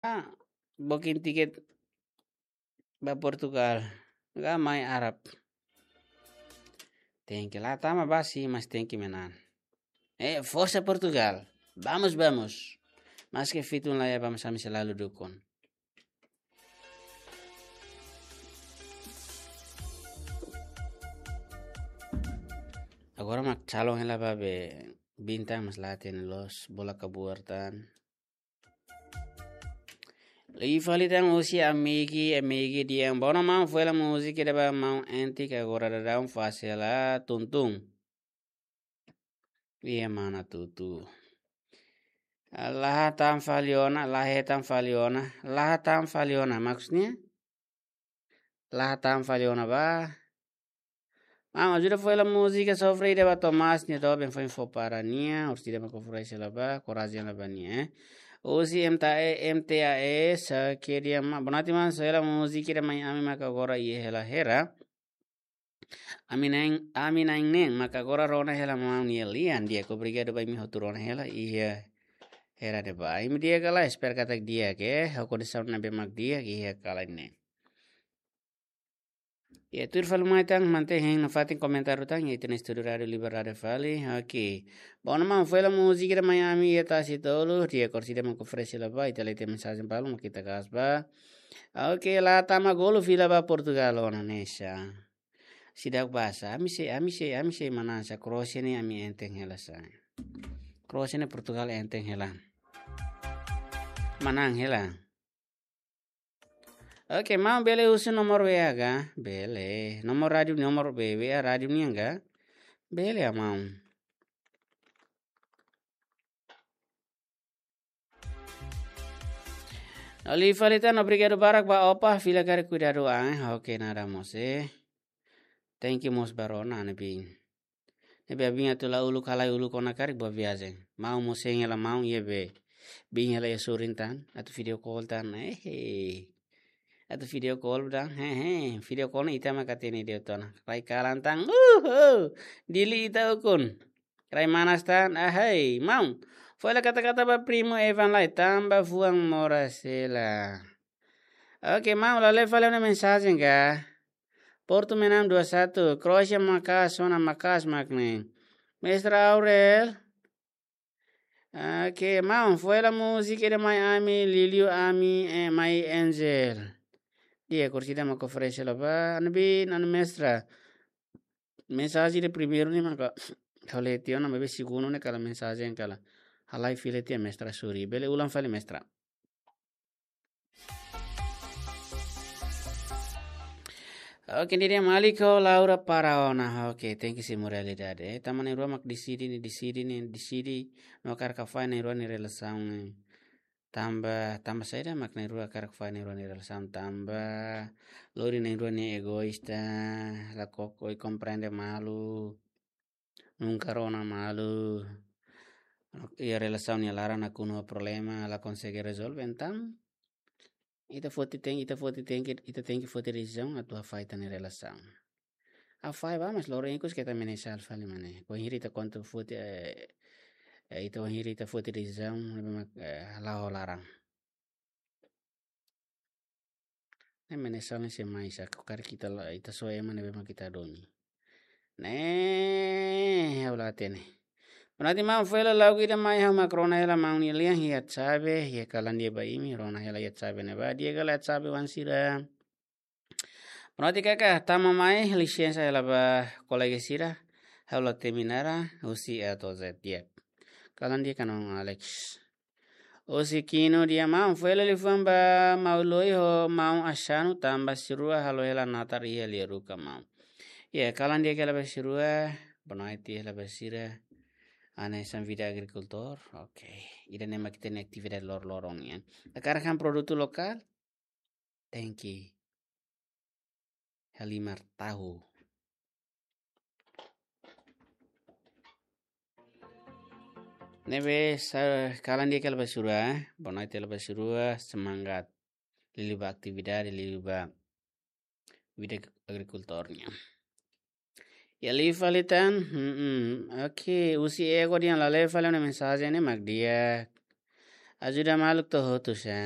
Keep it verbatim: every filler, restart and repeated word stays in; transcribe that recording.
Ah, booking tiket ba Portugal. Ga mai Arab. Tenke la tama basi, mas tenke menang. Eh, forsa Portugal. Vamos, vamos. Maske fitun la iha, vamos, ami selalu dukun. Agora mak calon hela ba be bintang mas la hatene loos bola kabuar tan. Liu fali tan husi Amigi, Amigi dehan: "Boa ona maun, foin hela múzika ida ba maun Entik, agora daudaun fase la tuntung." Iha mana tutu. La hatán fali ona, la hetan fali ona, la hatán fali ona, maksudnya? La hatán fali ona ba. Maun, ajuda foin hela múzika sofre ida ba Tomás nia doben foin fó para nia, orsida mak oferese hela ba, korajen hela ba nia, eh. Husi M T A E, M T A E, sa ke dia ma, bonati maun, só hela múzika ida mai ami maka agora iha hela hera. Ami na'in, ami na'in-neen, maka agora rona hela maun nia lian, di'ak, obrigadu ba imi hotu rona hela, iha hera ne'ebá. Imi di'ak ka lae, espera katak di'ak, eh, ho kondisaun ne'ebé mak di'ak, iha kalan ne'e. Ya, tuir fali mai tan, mantén hein nafatin komentáriu tan, iha ita-nia estúdiu Rádiu Liberdade fali. Oke. Boa ona maun, foin hela múzika ida mai ami iha Tasi Tolu, di'ak, orsida mak oferese hela ba, ita lee tiha mensajen balu, mak ita kaas ba. Oke, la tama golu fila ba Portugal ona ne'e sa. Seidauk basa, ami sei, ami sei, ami sei manán sa, Kroasia ne'e ami enten hela sa. Kroasia ne'e Portugal enten hela. Manán hela. Oke, maun bele husu nomor W A ka? Bele. Nomor rádiu, nomor B W A rádiu nian ka? Bele ya, maun. Liu fali tan, obrigadu barak ba Opa, fila karik kuidadu an. Oke, nada mós, eh. Thank you mós ba rona, ne'ebé. Ne'ebé abin atu la uluk, halai uluk ona karik, boa viajen. Maun mós hein hela maun, iha be. Bin hela iha sorin tan, atu video call tan, eh, eh. Atu video call tan, he, he. Video call ne'e ita maka hatene de'it ona. Rai kalan tan, uh, uh. Dili ita ukun. Rai manas tan, ahai, maun. Foin hela kata-kata ba primu Evan lai, tanba fuan moras hela. Oke, maun, la lee fali ona mensajen ka? Portu menang dua satu, Kroasia maka'as ona, maka'as mak ne'e. Mestra Aurel. Oke, maun, foin hela múzika ida mai ami, liuliu ami, eh, mai Angel. Di'ak, orsida mak oferese hela ba, ne'ebé, nana mestra. Mensajen ida primeiru ne'e maka ha'u lee tiha ona, maibé segundu ne'e kala mensajen kala. Halai fila tiha, mestra, sorry. Bele ulang fali, mestra. Oke, ne'e dehan malik ho Laura para ona. Oke, thank you, simu realidade. Eh, tanba na'in-rua mak deside ne'e, deside ne'e, deside. No hakarak fa'an na'in-rua nia relasaun ne'e. Tanba, tanba saida mak na'in-rua hakarak fa'an na'in-rua nia relasaun, tanba lori na'in-rua ne'e egoísta, la koko i komprende malu. Nunka rona malu. Iha relasaun nia laran nakonu ho problema, la konsege rezolve, entaun ita foti tenke, ita foti tenke, ita tenke foti desizaun atu hafahe ita-nia relasaun. Hafahe ba, mas loron ikus keta menesal fali mak ne'e. Bainhira ita konta foti, eh, eh, ita bainhira ita foti desizaun, ne'ebé mak, eh, la'o laran. Ne'e menesal ne'e sei mai sa, karik ita la, ita soe ema ne'ebé mak ita domin. Ne'e, ha'u la hatene. Berarti maun, foin hela lagu ida mai, ha'u mak rona hela maun nia lian, iha WhatsApp, iha kalan di'ak ba imi, rona hela iha WhatsApp ne'ebá, di'ak ka lae WhatsApp oan sira. Berarti kaka, tama mai, lisensa hela ba kolega sira, ha'u la temi nada, husi A to'o Z, di'ak. Kalan di'ak ka maun Alex. Husi Kino dehan maun, foin hela liafuan ba maun Loi ho maun Asanu, tanba sira rua halo hela natar iha Liaruka maun. Ya, kalan di'ak hela ba sira rua, boa noite hela ba sira. Hanesan vida agrikultór, oke. Ida-ne'e mak ita-nia atividade lor-loron nian. Hakarak han produtu lokál, tenke halimar tahu. Ne'ebé sa, kalan di'ak hela ba sira rua, eh. Boa noite hela ba sira rua, semangat. Liuliu ba atividade, liuliu ba vida agrikultór nian. Ya, liu fali tan, hmm, hmm. Oke, husi Ego dehan la lee fali ona mensajen ne'e mak di'ak. Ajuda maluk to'o hotu sa.